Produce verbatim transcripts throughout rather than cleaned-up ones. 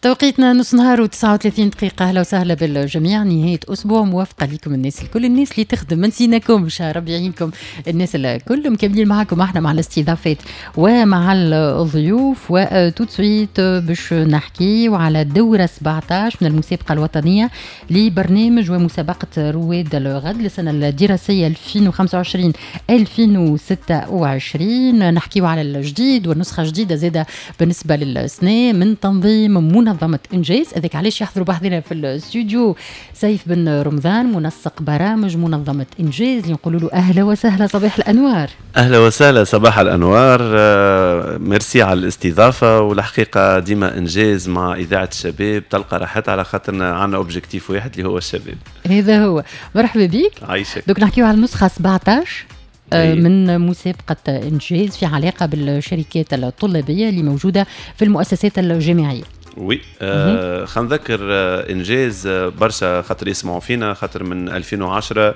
توقيتنا نص نهار وتسعة وثلاثين دقيقة. أهلا وسهلا بالجميع، نهاية أسبوع موافقة لكم الناس الكل، الناس اللي تخدم ما نسيناكمش، ربي يعينكم الناس الكل. مكملين معكم احنا مع الاستضافات ومع الضيوف، و tout de suite باش نحكي على الدورة سبعطاش من المسابقة الوطنية لبرنامج ومسابقة رواد الغد للسنة الدراسية ألفين وخمسة وعشرين ألفين وستة وعشرين. نحكيو على الجديد والنسخة الجديدة زادة بالنسبة للسنة من تنظيم منظمة إنجاز. هذاك علاش يحضروا بحذنا في الاستوديو سيف بن رمضان، منسق برامج منظمة إنجاز، اللي نقولوا له أهلا وسهلا، صباح الأنوار. اهلا وسهلا، صباح الانوار، آه، ميرسي على الاستضافه. والحقيقة ديما انجاز مع اذاعة الشباب تلقى راحتها، على خاطرنا عندنا objectif واحد اللي هو الشباب. هذا هو، مرحبا بك. عايشك. donc نحكيو على النسخة سبعطاش آه، أي. من مسابقة إنجاز في علاقة بالشركات الطلابية اللي موجودة في المؤسسات الجامعية. oui، آه خلينا نذكر آه انجاز آه برشا خاطر يسمعوا فينا، خاطر من ألفين وعشرة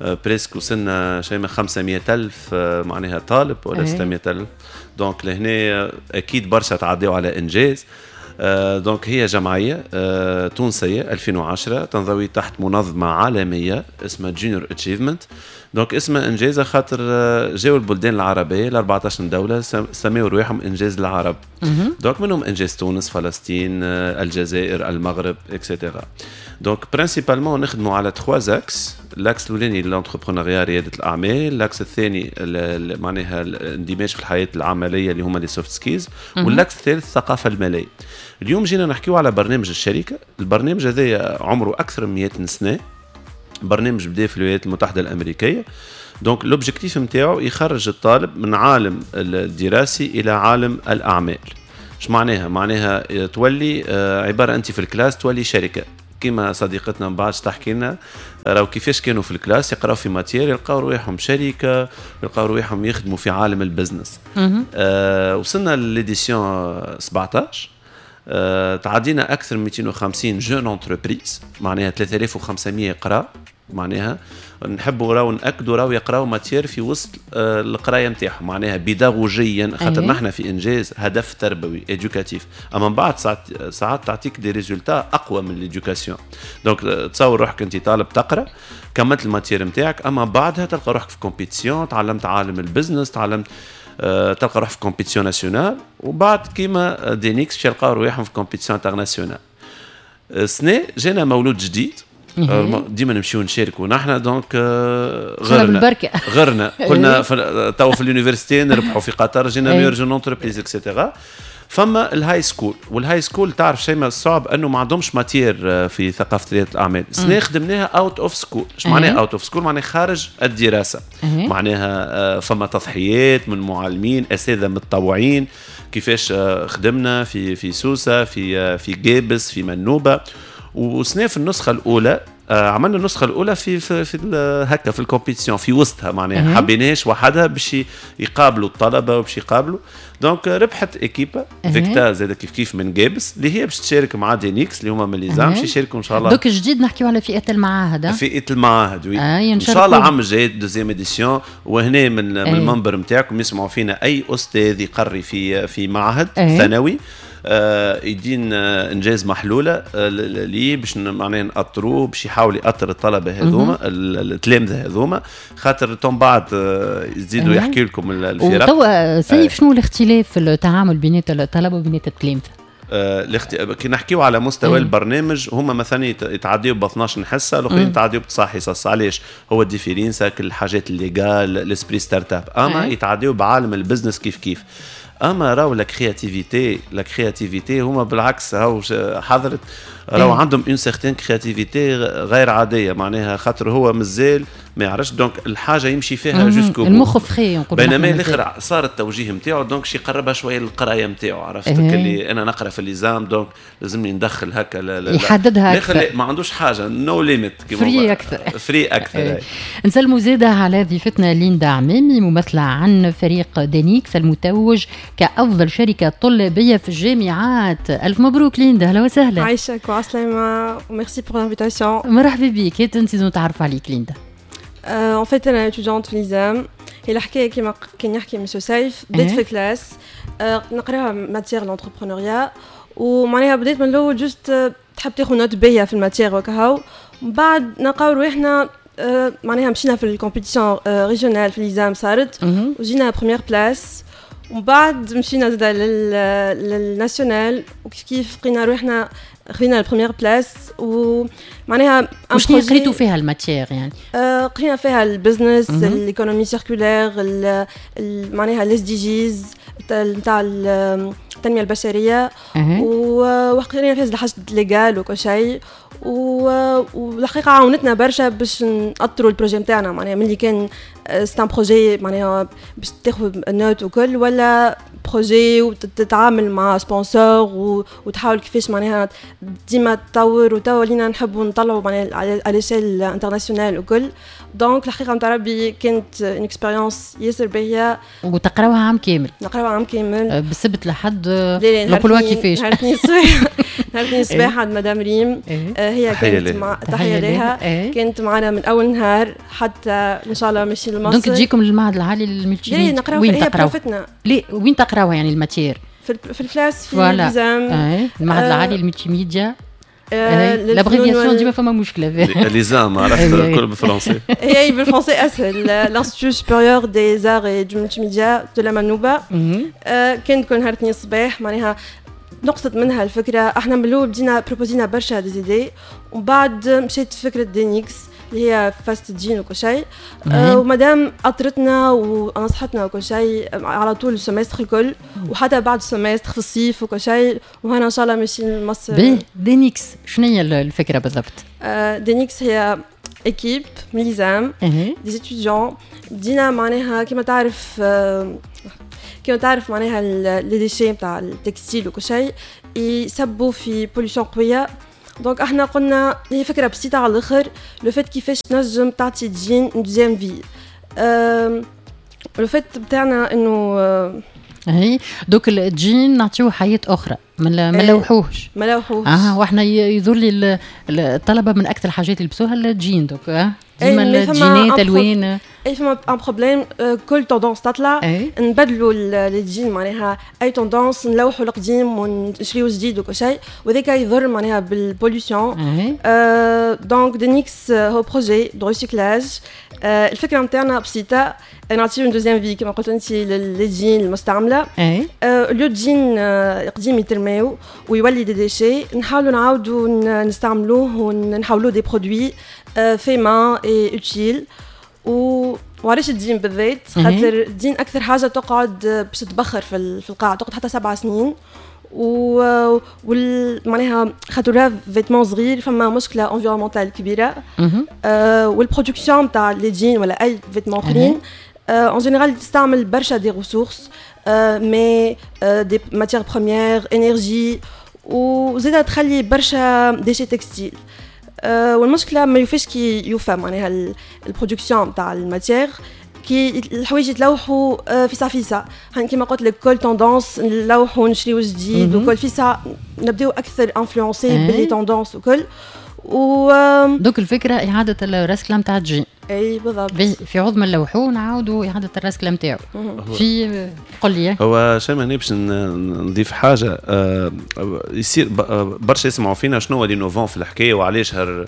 آه presque وصلنا شيء من خمسمية ألف آه معناها طالب ولا أي. ستمية ألف. donc لهنا آه، أكيد برشا تعديوا على إنجاز. آه، donc هي جمعية آه، تونسية ألفين وعشرة تنضوي تحت منظمة عالمية اسمها Junior Achievement. donc اسمها انجاز خاطر آه، جاوا البلدان العربية ال أربعطاش دولة سميوا رواحهم انجاز العرب. donc منهم انجاز تونس، فلسطين، آه، الجزائر، المغرب، et cetera. donc principalement نخدموا على trois axes: l'axe الاولاني l'entrepreneuriat، رياده الاعمال، l'axe الثاني معناها الاندماج في الحياة العملية اللي هما les soft skills، وال l'axe الثالث الثقافة الماليه. اليوم جينا نحكيو على برنامج الشركه. البرنامج هذا عمره اكثر من مية سنه، برنامج بدا في الولايات المتحدة الامريكيه. donc l'objectif نتاعو يخرج الطالب من عالم الدراسي الى عالم الاعمال. ايش معناها؟ معناها تولي آه، عبارة انت في ال classe تولي شركه، كما صديقتنا من بعد تحكي لنا راهو كيفاش كانوا في ال classe يقراو في matière يلقاو رواحهم شركه، يلقاو رواحهم يخدموا في عالم ال business. آه وصلنا l'édition سبعطاش، آه تعدينا اكثر من ميتين وخمسين jeunes entreprises، معناها ثلاثة آلاف وخمسمية قرا. معناها نحبوا راهو ناكدوا راهو يقراو matière في وسط آه، القراية نتاعهم، معناها بيداغوجيا، خاطر نحن في انجاز هدف تربوي éducatif، اما من بعد ساعات ساعات تعطيك des résultats اقوى من l'éducation. donc تصور روحك انت طالب تقرا، كملت ال matière نتاعك، اما بعدها تلقى روحك في compétition، تعلمت عالم ال business، تعلمت آه، تلقى روحك في compétition nationale، وبعد كيما دينيكس باش يلقاو رواحهم في compétition internationale. السنة جانا مولود جديد، ديما نمشيو نشاركوا نحن، donc آه، غرنا بالبركة. غرنا، قلنا تو في l'université نربحوا في قطر، جينا meilleure jeune entreprise et cetera. فما ال high school، وال high school تعرف شيء ما الصعب انه ما عندهمش matière آه، في ثقافة رياده الاعمال. السنة خدمناها out of school. ايش معناها out of school؟ معناها خارج الدراسه، معناها آه، فما تضحيات من معلمين، اساتذة متطوعين. كيفاش خدمنا في في سوسه، في في قابس، في منوبه. وسنة في النسخة الاولى آه، عملنا النسخة الاولى في في, في هكا في ال compétition في وسطها، معناها حبيناش وحدها باش يقابلوا الطلبة وباش يقابلوا. donc ربحت équipe فيكتا زاد كيف كيف من قابس، اللي هي باش تشارك مع دينيكس اللي هما من l'ISAM، باش يشاركوا ان شاء الله. donc جديد نحكيو على فئة المعاهد. فئة المعاهد، oui. آه ان شاء الله عام الجاي deuxième édition. وهنا من, من المنبر نتاعكم يسمعوا فينا اي استاذ يقري في في معهد أي. ثانوي، آه، يدين آه، انجاز محلولة آه، ليه باش معناها نأطروه، باش يحاول يأطر الطلبة هذوما، التلامذه هذوما، خاطر تم بعد يزيدوا يحكي لكم الفرق. وتوا سيف، شنو الاختلاف في التعامل بين الطلبة وبين التلامذه؟ الاخت... كي نحكيو على مستوى مم. البرنامج، هما مثلا يتعديو ب اثناش حصه، الاخرين يتعديو بتسع حصص. علاش؟ هو ال différence الحاجات ال légales، l'esprit startup، اما يتعديو بعالم ال business كيف كيف. اما راهو la créativité، la créativité هما بالعكس، هاو حضرت راهو إيه. عندهم une certaine créativité غير عاديه، معناها خاطر هو مازال ما يعرفش، donc الحاجة يمشي فيها jusqu'au bout. المخ frais نقول. بينما الاخر صار التوجيه نتاعو، donc شي يقربها شوية للقرايه نتاعو، عرفت إيه. اللي انا نقرا في l'ISAM، donc لازمني ندخل هكا. يحددها اكثر، ما عندوش حاجه، no limit. free اكثر. free اكثر إيه. نسلموا زاده على ضيفتنا ليندا عمامي، ممثلة عن فريق دينيكس المتوج كافضل شركة طلابيه في الجامعات. الف مبروك ليندا، اهلا وسهلا. عايشك وعسلامة و merci pour l'invitation. مرحبا بك. هات نزيدو نتعرف عليك ليندا. En fait, أنا étudiante في l'ISAM. هي الحكاية كيما كان يحكي مسيو سيف، بديت في classe آه، نقراها matière l'entrepreneuriat، ومعناها بديت من الاول juste تحب تاخذ note باهيه في ال matière وكهو. من بعد نلقاو رواحنا آه، معناها مشينا في ال compétition régionale في l'ISAM صارت وجينا première place، ومن بعد مشينا زادا لل national وكيف كيف لقينا روحنا خذينا ال première place. ومعناها وشنو قريتوا فيها ال matière يعني؟ آه قرينا فيها ال business، l'économie circulaire، معناها ال SDGs نتاع التنمية البشريه، وقرينا فيها حاجات légales وكل شيء. والحقيقة عاونتنا برشا باش نأطروا ال projet نتاعنا، معناها ملي كان c'est un projet معناها باش تاخذ note وكل، ولا projet وتتعامل مع sponsor وتحاول كيفاش معناها ديما تطور. وتوا ولينا نحبوا نطلعوا معناها على l'échelle internationale وكل. donc الحقيقة نتاع ربي كانت une expérience ياسر باهيه. وتقراوها عام كامل؟ نقراوها عام كامل. أه، بالسبت لحد نقولوها كيفاش؟ نهار الاثنين الصباح، نهار الاثنين الصباح عند مدام ريم. إيه. آه، هي كانت مع تحية لها إيه. كانت معنا من اول نهار حتى ان شاء الله ماشيين لمصر. donc تجيكم للمعهد العالي لل multimédia؟ وين تقراو؟ ليه وين تقراوها يعني ال matière؟ في في ال classe في l'ISAM. المعهد العالي لل multimédia، l'abréviation ديما فما مشكله. l'ISAM عرفت الكل بالفرنسي. هي بالفرنسي اسهل، l'Institut supérieur des arts et du multimédia de la Manouba. كان كل نهار اثنين الصباح. معناها نقصت منها الفكره، احنا من الاول بدينا proposينا برشا des idées، ومن بعد مشيت فكرة دينيكس اللي هي fast jean وكل شيء. آه ومادام اطرتنا ونصحتنا وكل شيء على طول ال semestre الكل، وحتى بعد ال semestre في الصيف وكل شيء، وهنا ان شاء الله ماشيين لمصر. باهي، دينيكس شنو هي الفكرة بالضبط؟ آه دينيكس هي équipe من l'ISAM، des étudiants. بدينا معناها كما تعرف آه كما تعرف معناها les déchets نتاع ال textile وكل شيء يسبوا في pollution قويه. donc احنا قلنا هي فكرة بسيطة على الاخر، le fait كيفاش تنجم تعطي jean deuxième vie. le fait بتاعنا انه هي donc ال jean نعطيوه حياة اخرى، ما ما نلوحوهش. ما نلوحوهش. اه واحنا يظهر لي الطلبة من اكثر الحاجات اللي يلبسوها ال jean، donc اه ديما الجينات الوان. اي فما un problème، كل tendance تطلع نبدلوا les jeans، معناها اي tendance نلوحوا القديم ونشريو جديد وكل شيء، وذاك يضر معناها بال pollution. donc دينيكس هو projet de recyclage. الفكرة نتاعنا بسيطه، نعطيو une deuxième vie كما قلت انت les jeans المستعمله. le jean قديم يترماو ويولي des déchets، نحاولوا نعاودوا نستعملوه ونحولوه des produits faits main et utiles. و وعلاش الدين بالذات؟ خاطر الدين اكثر حاجة تقعد باش تتبخر في في القاع، تقعد حتى سبع سنين. و وال معناها خاطر vêtement صغير فما مشكلة environnementale كبيره. آه وال production تاع les jeans ولا اي vêtement اخرين en général تستعمل برشا des ressources، mais des matières premières، énergie، وزيدا تخلي برشا déchets textiles. أه والمشكلة ما يوفاش كي يوفى معناها ال production تاع ال matière، كي الحوايج يتلوحوا آه، فيسع فيسع. كيما قلت لك كل tendance نلوحوا نشريو جديد، وكل فيسع نبداو اكثر influencés ب les tendances وكل. و donc الفكرة اعاده الرسكله نتاع الجين. اي بالضبط. في عوض ما نلوحوه نعاودوا اعاده الرسكله نتاعو. في قل لي. هو شيماء هنا باش نضيف حاجه، آه، يصير برشا يسمعوا فينا شنو هو l'innovant في الحكاية وعلاش هر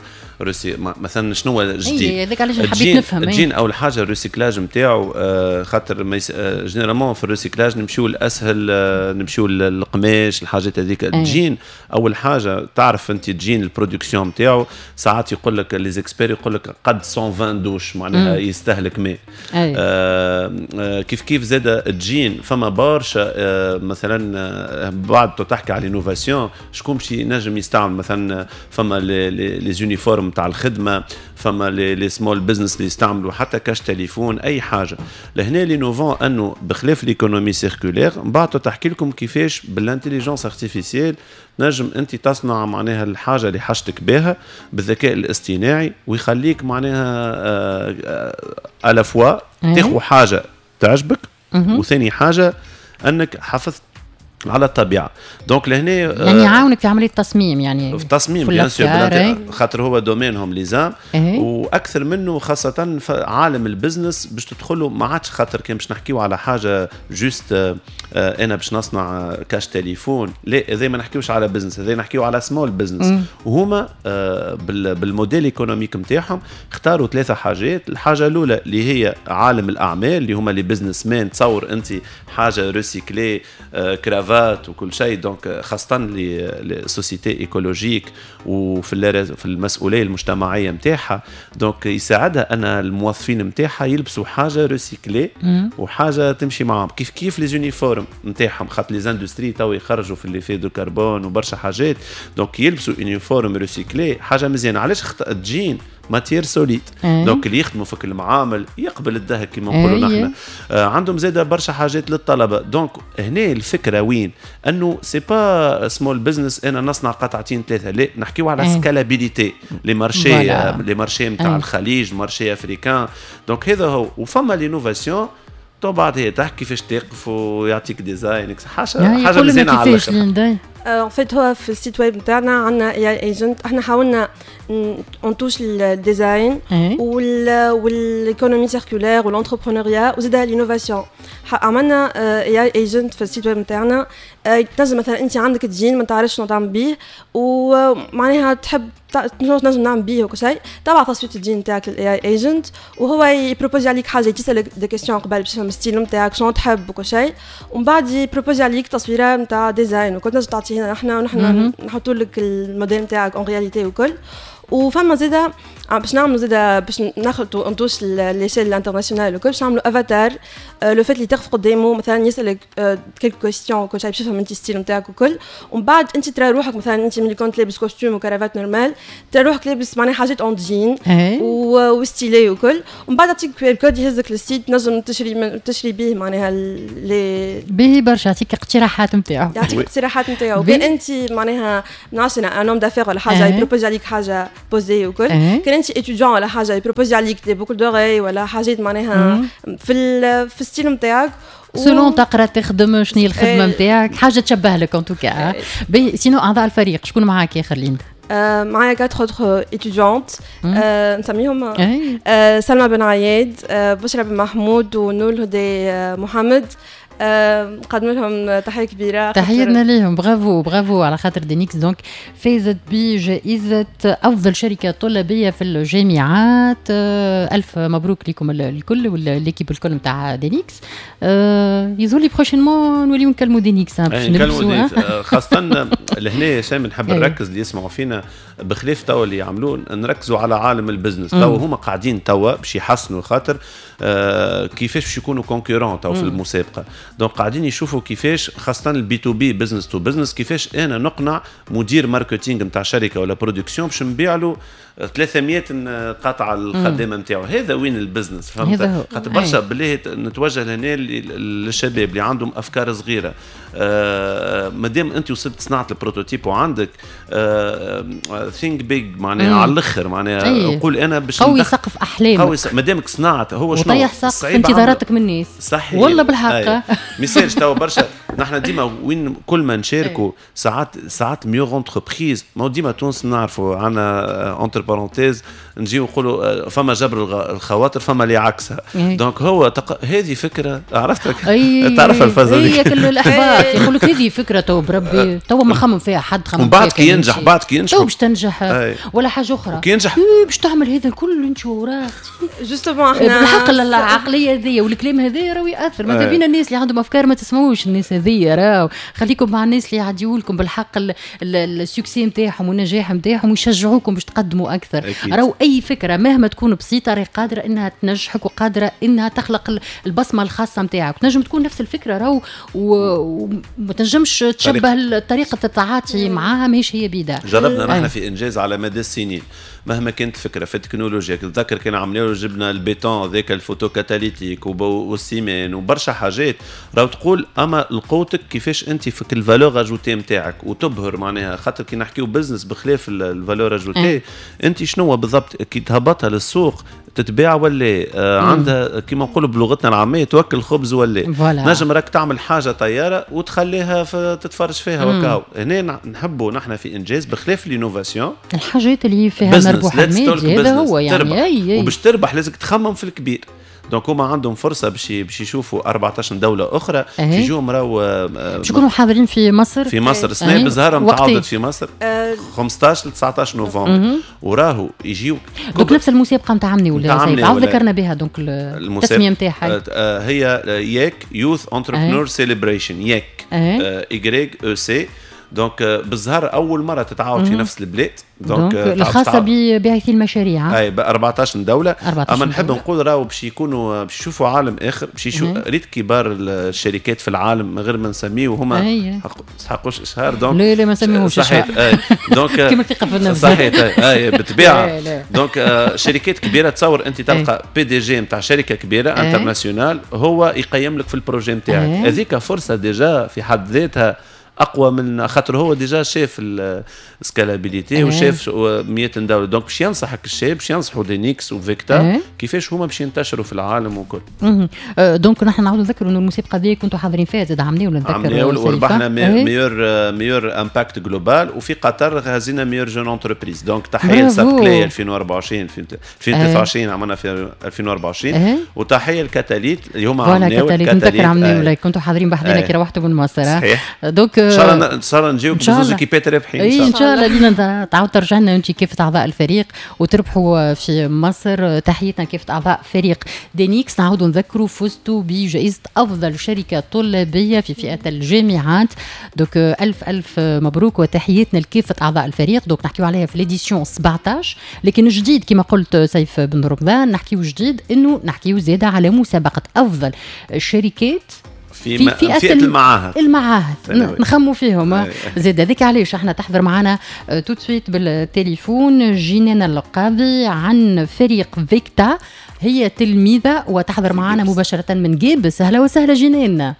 مثلا شنو هو الجديد؟ هذاك علاش حبيت نفهم. الجين اول حاجة ال recyclage نتاعو، آه، خاطر généralement في ال recyclage نمشيو الاسهل، آه، نمشيو للقماش الحاجات هذيك. الجين اول حاجة تعرف انت ال jean ال production نتاعو ساعات يقول لك les experts يقول لك قد مية وعشرين دوش معناها يستهلك ماء. آه آه كيف كيف زاد الجين فما برشا آه مثلا آه بعد تحكي على l'innovation شكون باش ينجم يستعمل، مثلا فما les uniformes تاع الخدمه، فما les small business اللي يستعملوا حتى cache téléphone اي حاجه. لهنا l'innovant انه بخلاف l'économie circulaire من بعد تحكي لكم كيفاش بال intelligence artificielle نجم انت تصنع معناها الحاجة اللي حاجتك بها بالذكاء الاصطناعي، ويخليك معناها à la fois تاخذ حاجة تعجبك، وثاني حاجة انك حافظت على الطبيعه. donc لهنا يعني يعاونك في عملية التصميم، يعني في التصميم bien sûr، خاطر هو domaine هم les hommes، واكثر منه خاصة في عالم ال business باش تدخلوا ما عادش، خاطر كان باش نحكيو على حاجة juste آه، انا باش نصنع cache téléphone، لا، هذا ما نحكيوش على business، هذا نحكيو على small business. وهما آه، بال modèle économique نتاعهم اختاروا ثلاثة حاجات. الحاجة الاولى اللي هي عالم الاعمال، اللي هما les businessmen، تصور انت حاجة recyclée، cravate وكل شيء، donc خاصة les sociétés écologiques وفي في المسؤولية المجتمعية نتاعها، donc يساعدها ان الموظفين نتاعها يلبسوا حاجة recyclée وحاجه تمشي معاهم. كيف كيف les uniformes نتاعهم، خاطر les industries تو يخرجوا في l'effet de carbone وبرشا حاجات، donc يلبسوا uniforme recyclé حاجة مزيانه. علاش ال jean؟ matière solide، donc اللي يخدموا في المعامل يقبل الدهك كما نقولوا نحن. آه عندهم زاده برشا حاجات للطلبه. donc هنا الفكرة وين؟ انه c'est pas small business انا نصنع قطعتين ثلاثه، لا، نحكيو على scalabilité، les marchés، les marchés نتاع الخليج، marché africain. donc هذا هو. وفما l'innovation تو بعد هي تحكي كيفاش تقف ويعطيك design، حاجة حاجة مزيانه على الاخر. en fait هو في ال site web نتاعنا عندنا AI agent، احنا حاولنا on touche ال design وال économie circulaire وال entrepreneuriat وزيد l'innovation. عملنا AI agent في ال site web نتاعنا، تنجم مثلا انت عندك جين ما تعرفش شنو تعمل بيه ومعناها تحب تنجم نعمل بيه وكل شيء، تبعث تصوير الجين نتاعك لل AI agent وهو ي proposer عليك حاجه، تسالك des questions قبل باش تفهم ال style نتاعك شنو تحب وكل شيء، ومن بعد ي proposer عليك تصويره نتاع design وكل، تنجم تعطيه لنا احنا ونحن نحطوا لك الموديل نتاعك en réalité وكل. وفما زاده باش نعملوا زاده باش ناخذوا on touche l'échelle internationale وكل، باش نعملوا avatar، le fait اللي تقف قدامه مثلا يسالك quelques questions وكل شيء باش يفهم انت style نتاعك وكل، ومن بعد انت ترى روحك مثلا انت ملي كنت لابس costume و cravate normal، ترى روحك لابس معناها حاجات en jean و stylé وكل، ومن بعد يعطيك QR code يهزك لل site تنجم تشري من تشري به معناها les باهي برشا، يعطيك اقتراحات نتاعو. يعطيك اقتراحات نتاعو. كان انت معناها نعرفش un homme d'affaires ولا حاجه، ي proposer عليك حاجة posée وكل. كان انت étudiant ولا حاجه، ي proposer عليك des boucles d'oreilles ولا حاجات معناها في في ال style نتاعك. selon تقرا، تخدم، شنو هي الخدمة نتاعك، حاجة تشبه لك en tout cas. باهي، sinon اعضاء الفريق شكون معاك يا خلينا؟ معايا quatre autres étudiantes نسميهم، سلمى بن عياد، بشرى بن محمود، ونور الهدي محمد. نقدم لهم تحية كبيره. تحياتنا ليهم، bravo bravo على خاطر دينيكس donc فازت بجائزة افضل شركة طلابيه في الجامعات. الف مبروك لكم الكل و l'équipe الكل نتاع دينيكس. يظهر لي prochainement نوليو نكلموا دينيكس. باش نكلموا، خاصة لهنا شامل نحب نركز اللي يسمعوا فينا، بخلاف توا اللي يعملوه، نركزوا على عالم ال business. توا هما قاعدين توا باش يحسنوا خاطر آه كيفاش باش يكونوا concurrents توا في المسابقه، donc قاعدين يشوفوا كيفاش خاصة ال B to B، business to business، كيفاش انا نقنع مدير marketing نتاع شركة ولا production باش نبيع له ثلاثمية قطعه الخدامة نتاعو. هذا وين ال business، فهمت؟ خاطر برشا بالله نتوجه لهنا للشباب اللي عندهم افكار صغيره، آه مادام انت وصلت صنعت ال prototype وعندك think big معناها على الاخر، معناها نقول انا باش قوي سقف احلامك. قوي مادامك صنعت هو شنو وطيح سقف انتظاراتك من الناس. صحيح. والله بالحق. ميسالش توا برشا نحن ديما وين كل ما نشاركوا ساعات ساعات meilleure entreprise، ما ديما تونس نعرفوا عندنا entre parenthèses نجيو نقولوا فما جبر الخواطر، فما اللي عكسها، donc هو تق... هذه فكره، عرفتك تعرف الفازة دي، كل الاحباط يقول لك هذه فكرة تو بربي تو ما خمم فيها حد خمم. ومن بعد كي ينجح، بعد كي ينجح تو باش تنجح ولا حاجة اخرى. كي ينجح باش تعمل هذا الكل انت وراك. justement احنا بالحق العقلية هذه والكلام هذا راهو ياثر. ماذا بينا الناس اللي عندهم افكار ما تسمعوش الناس هذيا، راهو خليكم مع الناس اللي يعديوا لكم بالحق ال succès نتاعهم والنجاح نتاعهم ويشجعوكم باش تقدموا اكثر. راهو اي فكرة مهما تكون بسيطة راهي قادرة انها تنجحك وقادرة انها تخلق البصمة الخاصة نتاعك. تنجم تكون نفس الفكرة راهو وما تنجمش تشبه طريقه التعاطي معاها ماهيش هي بيدا. جربنا نحن في انجاز على مدى السنين مهما كانت الفكرة في التكنولوجيا، تتذكر كان عملنا جبنا البيتون ذاك ال photocatalytique وال ciment وبرشا حاجات، راهو تقول اما القوة قوتك كيفاش انت في ال valeur ajoutée نتاعك وتبهر معناها، خاطر كي نحكيو business بخلاف ال valeur ajoutée انت شنو بالضبط كي تهبطها للسوق تتباع ولا آه عندها كيما نقولوا بلغتنا العامية توكل خبز ولا نجم راك تعمل حاجة طيارة وتخليها تتفرج فيها وكاو. هنا نحبوا نحن في انجاز بخلاف l'innovation الحاجات اللي فيها مربوحه مادي، هذا هو يعني. أي أي. وباش تربح لازم تخمم في الكبير. donc هما عندهم فرصة باش باش يشوفوا أربعطاش دولة اخرى باش يجوا راهو باش يكونوا حاضرين في مصر. في مصر السنة بزهره متعاودت في مصر خمسطاش ل تسعطاش نوفمبر، وراهو يجيو donc نفس المسابقة نتاع عمني ولا سيف عاود ذكرنا بها. donc التسمية نتاعها هي YEC Youth Entrepreneur Celebration، YEC Y E C. donc بالزهر اول مرة تتعاود في نفس البلاد، donc الخاصة بباعثي المشاريع اي ب أربعطاش دولة. اما نحب نقول راهو باش يكونوا باش يشوفوا عالم اخر، باش يشوفوا ريت كبار الشركات في العالم من غير ما نسميه وهما ما يستحقوش اشهار. donc لا لا ما نسميهوش صحيح. donc كيما الثقة في النفس صحيح اي بالطبيعة. donc شركات كبيرة تصور انت تلقى PDG نتاع شركة كبيرة internationale هو يقيم لك في ال projet نتاعك، هذيك فرصة déjà في حد ذاتها اقوى من خاطر هو déjà شاف ال scalabilité وشاف مية دولة. donc باش ينصحك الشاب باش ينصحوا دينيكس وفيكتا كيفاش هما باش ينتشروا في العالم وكل. donc نحن نعاودوا نذكروا انه المسابقة دي كنتوا حاضرين فيها زاد عملنا ولا نذكر عملنا وربحنا meilleur meilleur impact global، وفي قطر هزينا meilleure jeune entreprise. donc تحية لسابكلي ألفين وأربعة وعشرين ألفين وثلاثة وعشرين عملنا في ألفين وأربعة وعشرين، وتحية لكاتاليت اللي هما عملناو كاتاليت نذكر عملنا كنتوا حاضرين بحذنا كي روحتوا من مصر. صحيح. donc ان شاء الله ان شاء الله نجيوك بزوز équipe ات رابحين. ان شاء الله ان شاء الله لينا تعاود ترجع لنا انت كيف اعضاء الفريق وتربحوا في مصر. تحياتنا كيف اعضاء فريق دينيكس. نعاودوا نذكروا فزتوا بجائزة افضل شركة طلابيه في فئة الجامعات. donc الف الف مبروك وتحياتنا لكافة اعضاء الفريق. donc نحكيو عليها في l'édition سبعطاش، لكن جديد كما قلت سيف بن رمضان نحكيو جديد انه نحكيو زاده على مسابقة افضل الشركات في, في فئة, فئة المعاهد المعاهد نخموا فيهم زاد. هذيك علاش احنا تحضر معنا tout de suite بالتليفون جنان القاضي عن فريق فيكتا، هي تلميذة وتحضر معنا مباشرة من قابس. اهلا وسهلا جنان.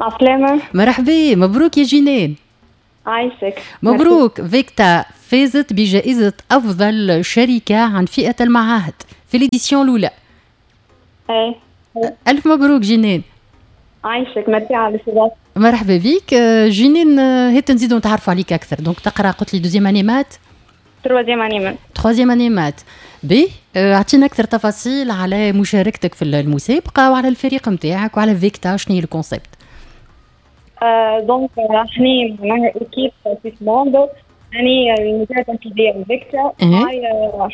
عسلامة. مرحبا، مبروك يا جنان. عايشك. مبروك، فيكتا فازت بجائزة أفضل شركة عن فئة المعاهد في l'édition الأولى. ايه ألف مبروك جنان. عايشك، ميرسي على الاستضافة. مرحبا بك جنين. هات نزيدو نتعرفوا عليك اكثر. donc تقرا قلت لي deuxième année maths؟ troisième année maths. troisième année maths. باهي، اعطينا اكثر تفاصيل على مشاركتك في المسابقة وعلى الفريق نتاعك وعلى فيكتا، شنو هي ال concept؟ donc احنا معناها équipe six membres، يعني المديرة التنفيذية فيكتا معايا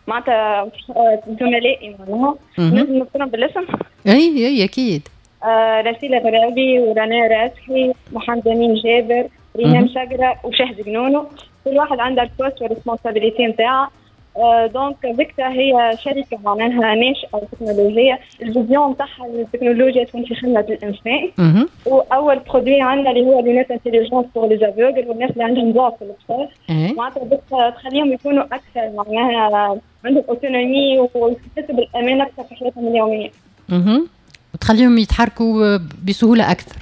معناتها زملائي معناها نجم نذكرهم بالاسم. اي اي اكيد. آه رسيلة غرابي ورنا راسحي محمد أمين جابر ريهام شجرة وشهد جنونو، كل واحد عنده ال poste وال responsabilité نتاعها. donc فيكتا هي شركة معناها ناشئة تكنولوجية، ال vision نتاعها التكنولوجيا تكون في خدمة الإنسان. وأول produit عندنا اللي هو lunettes intelligentes pour les aveugles والناس اللي عندهم ضعف في الابصار، معناتها بس تخليهم يكونوا أكثر معناها عندهم autonomie ويحسوا بالأمان أكثر في حياتهم اليومية. وتخليهم يتحركوا بسهولة اكثر.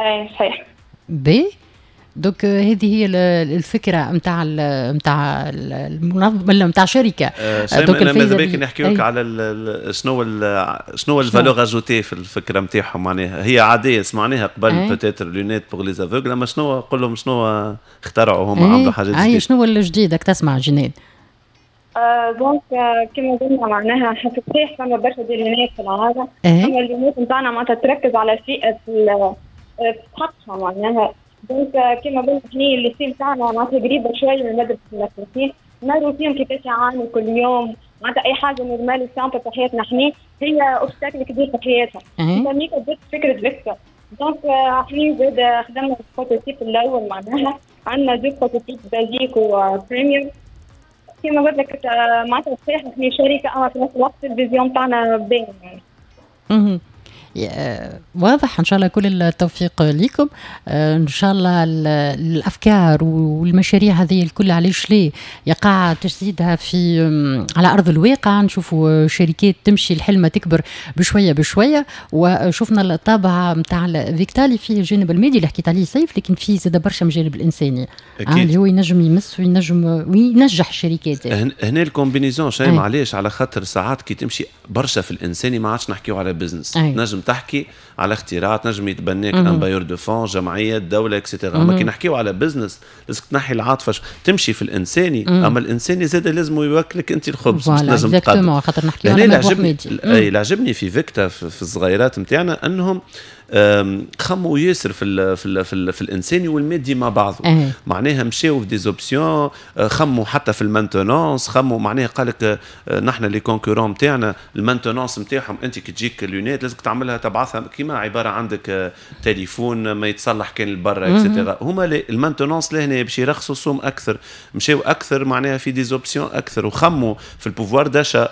اي صحيح. باهي، donc هذه هي الفكرة نتاع نتاع المنظمة نتاع شركة. أه donc انا ماذا بيك نحكي لك على شنو شنو ال valeur ajoutée في الفكرة نتاعهم. معناها هي عادية سمعناها قبل peut-être lunettes pour les aveugles، اما شنو قول لهم شنو اخترعوا هما عملوا حاجات جديدة. اي شنو الجديد تسمع جنان؟ donc كما قلنا معناها صحيح فما برشا des lunettes في العالم، اما ال lunettes نتاعنا معناتها تركز على فئة حقها معناها. donc كما قلنا احنا ال lycée نتاعنا معناتها قريبه شوية من مدرسه المدرسين، نروا فيهم كيفاش يعانوا كل يوم، معناتها اي حاجة normale simple في حياتنا احنا هي obstacle كبير في حياتهم. فميكا بدات فكرة فيكتا. donc احنا زاد خدمنا ال prototype الاول، معناها عندنا deux prototypes basique و premium. كما قلت لك معناتها صحيح احنا شركة اما في نفس الوقت ال vision تاعنا باين. يعني. واضح. ان شاء الله كل التوفيق لكم، ان شاء الله الافكار والمشاريع هذه الكل علاش ليه يقع تجسيدها في على ارض الواقع، نشوفوا شركات تمشي الحلمة تكبر بشوية بشوية. وشفنا الطابع نتاع فيكتا اللي فيه الجانب المادي اللي حكيت عليه سيف، لكن فيه زاد برشا من الجانب الانساني اللي هو ينجم يمس وينجم وينجح الشركات. هنا ال combinaison شيء معليش، على خاطر ساعات كي تمشي برشا في الانساني ما عادش نحكيو على business، نجم تحكي على اختراع، تنجم يتبناك un bailleur de fonds، جمعية، دولة، et cetera. اما كي نحكيو على business لازم تنحي العاطفة، تمشي في الانساني، اما الانساني زاد لازم يوكلك انت الخبز باش تنجم تقدم. خاطر نحكيو على عجبني اي اللي عجبني في فيكتا في الصغيرات نتاعنا انهم خموا ياسر في ال في ال في, ال في الانساني والمادي مع بعضه. أه. معناها مشاو في des options، خموا حتى في ال maintenance، خموا معناها قال لك نحن les concurrents نتاعنا ال maintenance نتاعهم انت كي تجيك lunettes لازمك تعملها تبعثها كيما عبارة عندك تليفون ما يتصلح كان لبرا et cetera. هما ال maintenance لهنا باش يرخصوا السوم اكثر، مشاو اكثر معناها في des options اكثر، وخموا في ال pouvoir d'achat.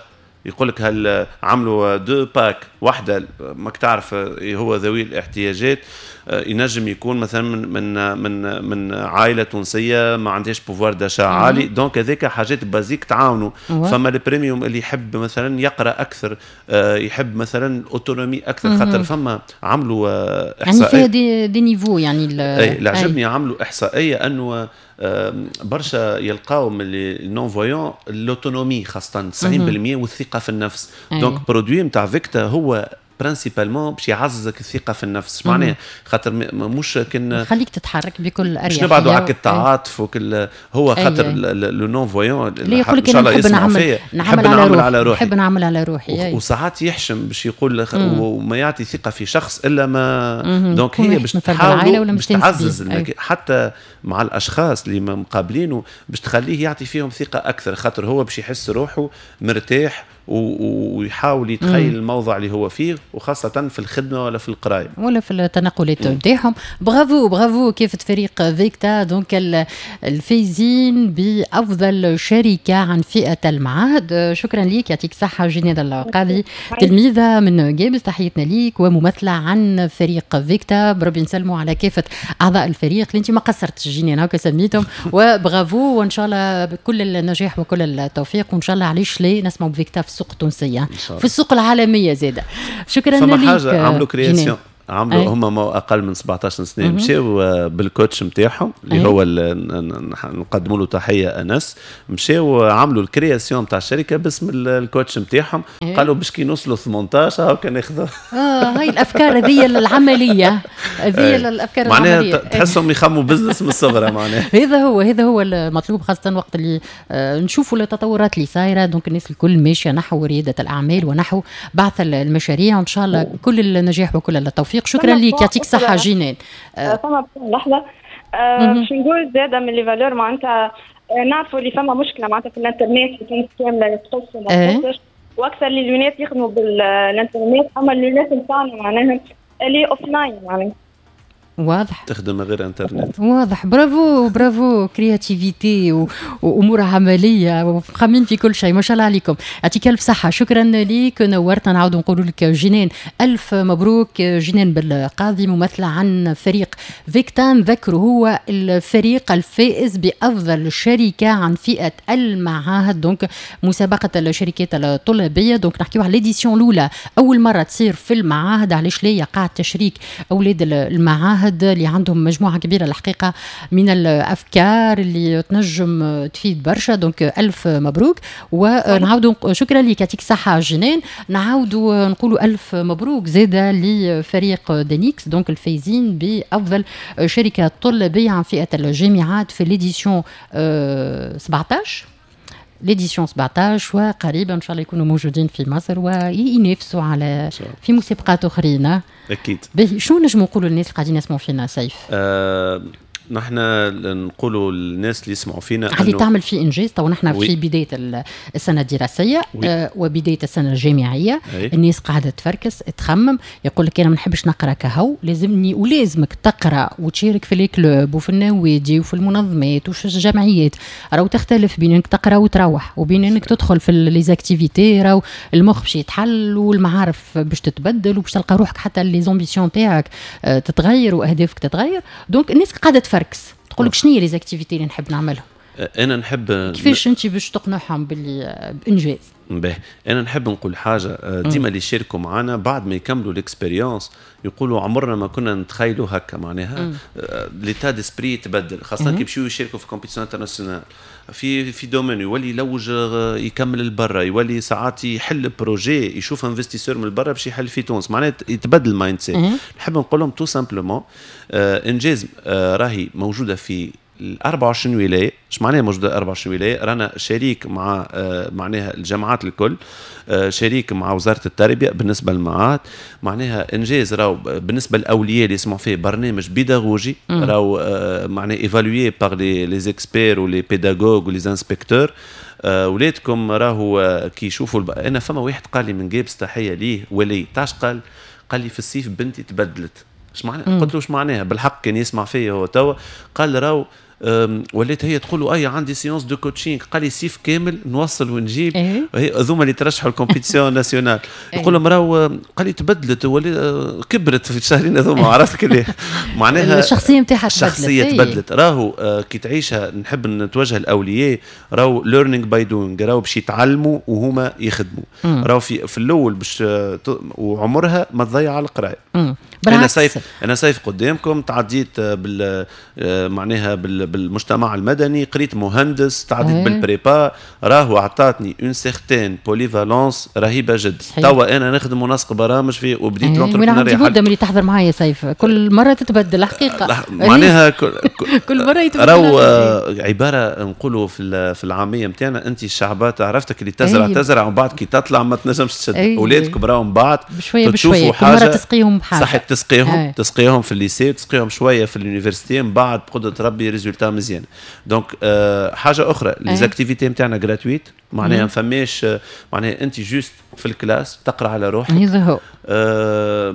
يقول لك هل عملوا deux packs، واحدة ماك تعرف هو ذوي الاحتياجات ينجم يكون مثلا من من من من عائلة تونسية ما عندهاش pouvoir d'achat عالي، donc هذاك حاجات basiques تعاونوا. فما ال premium اللي يحب مثلا يقرا اكثر، يحب مثلا autonomie اكثر، خاطر فما عملوا احصائية يعني فيها des, des niveaux يعني. اللي عجبني عملوا احصائية انه برشا يلقاو من les non-voyants l'autonomie خاصة تسعين بالمية والثقة في النفس. donc produit نتاع فيكتا هو principalement باش يعززك الثقة في النفس، معناها خاطر مش كان خليك تتحرك بكل اريحية، مش نبعدوا على التعاطف وكل هو خاطر le non-voyant اللي يقول لك انا نحب نعمل نعمل على روحي, على روحي. نحب نعمل على روحي، وساعات يحشم باش يقول وما يعطي ثقة في شخص الا ما donc هي باش تحاول باش تعزز حتى مع الاشخاص اللي مقابلينه باش تخليه يعطي فيهم ثقة اكثر، خاطر هو باش يحس روحه مرتاح ويحاول يتخيل الموضع اللي هو فيه، وخاصة في الخدمة ولا في القراية ولا في التنقلات نتاعهم. bravo bravo كيف فريق فيكتا donc الفايزين بأفضل شركة عن فئة المعاهد. شكرا ليك، يعطيك الصحة جنان القاضي، تلميذة من جابس، تحيتنا ليك وممثلة عن فريق فيكتا. بربي نسلموا على كافة أعضاء الفريق اللي أنت ما قصرتش جنان هكا سميتهم، وبرافو وإن شاء الله بكل النجاح وكل التوفيق، وإن شاء الله علاش ليه نسمعوا بفيكتا في السوق التونسية في السوق العالمية زاده. شكرا لك. فما حاجة عملوا création، عملوا هم ما اقل من سبعطاش سنة، مشاو بال coach نتاعهم اللي هو نقدموا له تحية انس، مشاو عملوا ال création نتاع الشركة باسم ال coach نتاعهم، قالوا باش كي نوصلوا ثمنطاش هاكا ناخذوا. اه هاي الافكار هذه العملية، هذه الافكار معناها العملية تحسهم يخموا business من الصغر معناها. هذا هو هذا هو المطلوب، خاصة وقت اللي نشوفوا التطورات اللي صايرة، donc الناس الكل ماشية نحو رياده الاعمال ونحو بعث المشاريع، وان شاء الله كل النجاح وكل التوفيق. شكرا ليك، يعطيك الصحة جنان. فما لحظة باش نقول زادة من les valeurs، معناتها نعرفوا اللي فما مشكلة معناتها في الانترنت في تونس كاملة تقص وما تقصش، واكثر les lunettes يخدموا بالانترنت، اما ال lunettes نتاعنا معناها اللي offline معناها واضح تخدم غير انترنت. واضح، bravo bravo، créativité وامور عملية وخامين في كل شيء، ما شاء الله عليكم، يعطيك الف صحة. شكرا ليك، نورتنا. نعاود نقول لك جنان الف مبروك. جنان بالقاضي ممثلة عن فريق فيكتا، نذكره هو الفريق الفائز بافضل شركة عن فئة المعاهد، donc مسابقة الشركات الطلابيه، donc نحكيو على l'édition الاولى، اول مرة تصير في المعاهد. علاش لا يقع تشريك اولاد المعاهد اللي عندهم مجموعة كبيرة الحقيقة من الأفكار اللي تنجم تفيد برشا، donc ألف مبروك. ونعاودوا شكرا لك، يعطيك الصحة جنان. نعاودوا نقولوا ألف مبروك زادة لفريق دينيكس، donc الفايزين بأفضل شركة طلابية عن فئة الجامعات في l'édition سبعطاش، l'édition سبعطاش، وقريبا ان شاء الله يكونوا موجودين في مصر وينافسوا على في مسابقات اخرين. اكيد. باهي، شنو نجموا نقولوا للناس اللي قاعدين يسمعوا فينا سيف؟ أه نحن نقولوا للناس اللي يسمعوا فينا اللي تعمل في انجاز، تو نحن في بداية السنة الدراسية آه وبداية السنة الجامعيه. أي. الناس قاعدة تفركس، تخمم، يقول لك انا ما نحبش نقرا كهو، لازمني ولازمك تقرا وتشارك في les clubs وفي النوادي وفي المنظمات وفي الجمعيات. راهو تختلف بين انك تقرا وتروح وبين انك تدخل في les activités. راهو المخ باش يتحل والمعارف باش تتبدل وباش تلقى روحك، حتى les ambitions تاعك آه، تتغير واهدافك تتغير. donc الناس قاعدة تفركس، تقول لك شنو هي les activités اللي نحب نعملهم. انا نحب كيفاش انت باش تقنعهم باللي بانجاز؟ باهي، انا نحب نقول حاجه، آه، ديما اللي يشاركوا معنا بعد ما يكملوا l'expérience يقولوا عمرنا ما كنا نتخيلوا هكا. معناها l'état d'esprit تبدل، خاصة كي يمشيو يشاركوا في compétition internationale في في domaine، يولي يلوج آه، يكمل البرا، يولي ساعات يحل projet، يشوف investisseur من البرا باش يحل في تونس، معناها يتبدل ال mindset. نحب نقول لهم tout simplement انجاز آه، راهي موجودة في ال أربعة وعشرين ولايه. ايش معناها موجودة أربعة وعشرين ولايه؟ رانا شريك مع آه، معناها الجامعات الكل، آه، شريك مع وزارة التربية بالنسبة للمعاهد. معناها انجاز راهو بالنسبة للاولياء اللي يسمعوا فيه برنامج بيداغوجي، راهو آه، معناها évalué par les les experts و les pédagogues و les inspecteurs. ولادكم راهو كي يشوفوا الب... انا فما واحد قال لي من قابس، تحية ليه، ولي تاش، قال قال لي في الصيف بنتي تبدلت. ايش معناها؟ قلت له ايش معناها؟ بالحق كان يسمع فيا هو توا. قال راهو وليت هي تقول اي عندي séance de coaching، قال لي صيف كامل نوصل ونجيب. إيه؟ هذوما اللي ترشحوا ال compétition nationale. يقول لهم راهو قال لي تبدلت ولي كبرت في الشهرين هذوما، عرفت كلي معناها الشخصية نتاعها. تبدلت، الشخصية إيه؟ تبدلت. راهو آه، كي تعيشها، نحب نتوجه الاولياء، راهو learning by doing، راهو باش يتعلموا وهما يخدموا. راهو في في الاول باش وعمرها ما تضيع على القرايه. انا سيف انا سيف قدامكم تعديت بال آه، معناها بالمجتمع المدني، قريت مهندس، تعديت إيه. بال prépa، راهو اعطاتني une certaine polyvalence رهيبة جدا. توا انا نخدم منسق برامج في وبديت إيه. l'entrepreneuriat. مده ملي تحضر معايا سيف، كل مرة تتبدل الحقيقه. معناها كل, كل مرة يتبدل. راهو آه، عبارة نقولوا في في العامية نتاعنا، انت الشعبات عرفتك اللي تزرع أيه. تزرع ومن بعد كي تطلع ما تنجمش تشد. اولادكم راهو من بعد بشوية بشويه، كل مرة تسقيهم بحاجه. صحيح، تسقيهم أيه. تسقيهم في ال lycée، تسقيهم شوية في l'université، من بعد بقدره ربي résultat مزيان. donc آه حاجة اخرى، les activités نتاعنا gratuites، معناها ما فماش، معناها انت juste في ال classe تقرا على روحك. هذا هو. آه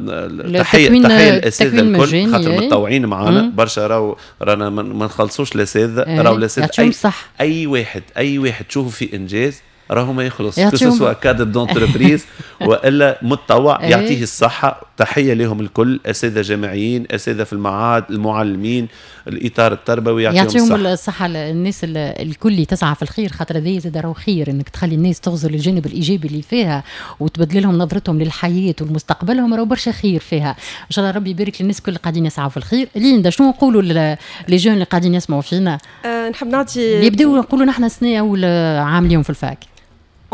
تحيه تحية للاساتذه الكل خاطر متطوعين معنا برشا. راهو رانا ما نخلصوش الاساتذه، راهو الاساتذة اي, صح. اي واحد اي واحد تشوفه في انجاز راهو ما يخلص، que ce soit cadre d'entreprise والا متطوع، إيه. يعطيه الصحه. تحية لهم الكل، اساتذة جامعيين، اساتذة في المعاهد، المعلمين، الاطار التربوي. يعطيهم, يعطيهم الصحه الصحة الناس الكل اللي تسعى في الخير، خاطر هذا زاد راهو خير انك تخلي الناس تغزر الجانب الايجابي اللي فيها وتبدل لهم نظرتهم للحياة ولمستقبلهم، راهو برشا خير فيها. ان شاء الله ربي يبارك للناس الكل اللي قاعدين يسعوا في الخير. ليندا، شنو نقولوا les jeunes اللي قاعدين يسمعوا فينا؟ أه نحب نعطي اللي يبداو نقولوا نحن سنة اول عام اليوم في ال fac.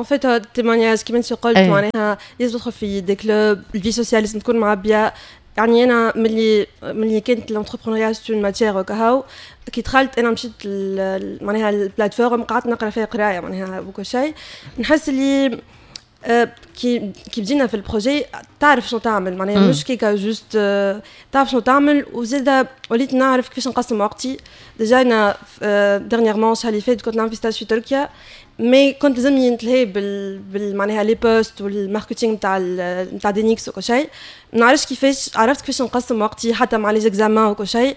en fait témoignage كيما انت قلت، معناها لازم تدخل في des clubs، ال vie sociale لازم تكون معبيه. يعني انا ملي ملي كانت l'entrepreneuriat c'est une matière وكهو، كي دخلت انا مشيت معناها ال plateforme قعدت نقرا فيها قرايه معناها وكل شيء. نحس اللي آه، كي كي بدينا في ال projet تعرف شنو تعمل، معناها مش كيكا juste، آه، تعرف شنو تعمل. وزيد وليت نعرف كيفاش نقسم وقتي. déjà انا dernièrement الشهر اللي فات كنت نعمل في stage في تركيا، mais كنت لازمني نتلهي بال, بال معناها les posts وال marketing نتاع نتاع دينيكس وكل شيء. ما نعرفش كيفاش عرفت كيفاش نقسم وقتي حتى مع les examens وكل شيء.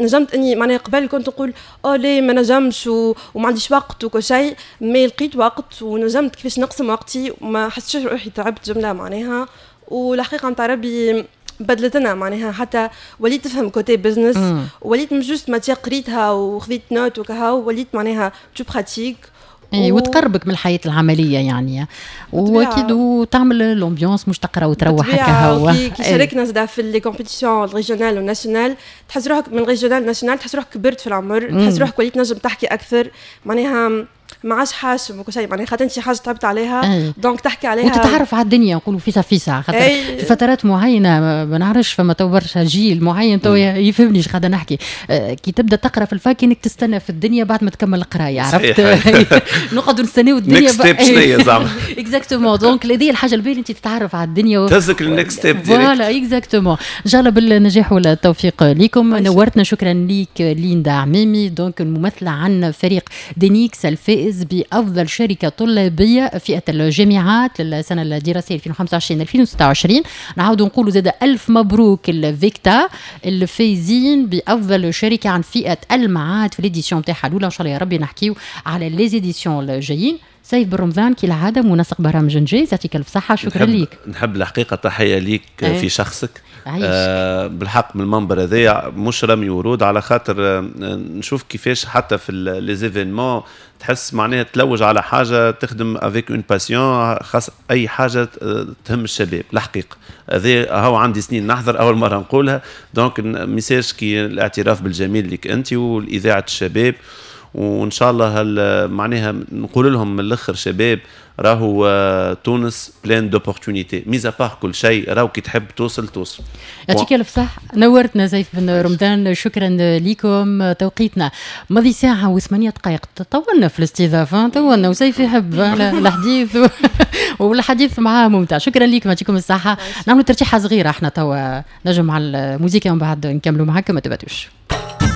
نجمت اني معناها قبل كنت نقول او ليه ما نجمش و... وما عنديش وقت وكل شيء، mais لقيت وقت ونجمت كيفاش نقسم وقتي وما حسيتش روحي تعبت جملة معناها. والحقيقة نتاع ربي بدلت لنا، معناها حتى وليت تفهم côté business، وليت مش juste matière قريتها وخذيت note وكهو، وليت معناها tu pratiques. اي و... وتقربك من الحياة العملية يعني، واكيد وتعمل l'ambiance، مش تقرا وتروح هكا هو. كي, كي شاركنا زاد في les compétitions régionales و nationales، تحس روحك من régional national، تحس روحك كبرت في العمر، تحس روحك وليت نجم تحكي اكثر معناها. ما عادش حاشم وكل شيء، معناها خاطر انت حاجة تعبت عليها donc تحكي عليها وتتعرف على الدنيا، نقولوا فيسع فيسع، خاطر في فترات معينة ما نعرفش فما تو برشا جيل معين تو يفهمني اش قاعدة نحكي. آه، كي تبدا تقرا في ال fac انك تستنى في الدنيا بعد ما تكمل القراية، عرفت؟ نقعدوا نستناو الدنيا next step شنو زعما. exactement، donc هذه الحاجة الباهيه، انت تتعرف على الدنيا و... تهزك لل next step. voilà exactement. ان شاء الله بالنجاح والتوفيق لكم. نورتنا، شكرا ليك ليندا عميمي، donc الممثلة عن فريق دينيكس الفائز بافضل شركة طلابيه فئة الجامعات للسنة الدراسية ألفين وخمسة وعشرين ألفين وستة وعشرين. نعاودوا نقولوا زاد الف مبروك الفيكتا الفايزين بافضل شركة عن فئة المعاهد في l'édition تاعها الاولى. ان شاء الله يا ربي نحكيو على les éditions الجايين. سيف بن رمضان كالعادة منسق برامج انجاز، يعطيك الف صحه، شكرا لك. نحب الحقيقة تحية ليك أيه. في شخصك آه بالحق من المنبر هذايا مش رمي ورود، على خاطر آه نشوف كيفاش حتى في les événements تحس معناها تلوج على حاجة تخدم avec une passion، خاص اي حاجة تهم الشباب. الحقيقة هذا هو عندي سنين نحضر، اول مرة نقولها، donc message كي الاعتراف بالجميل لك انت والاذاعه الشباب، وان شاء الله معناها نقول لهم من الاخر شباب راهو آه، تونس pleine d'opportunités، mis à part كل شيء، راهو كي تحب توصل توصل. يعطيك الف صح، نورتنا سيف بن رمضان، شكرا لكم. توقيتنا ماضي ساعة وثمانية دقائق، طولنا في الاستضافة، طولنا، وسيف يحب الحديث والحديث معاه ممتع. شكرا لكم، يعطيكم الصحة. نعملوا ترتيحة صغيرة احنا توا نجم على الموسيقى ومن بعد نكملوا معاكم، ما تبعدوش.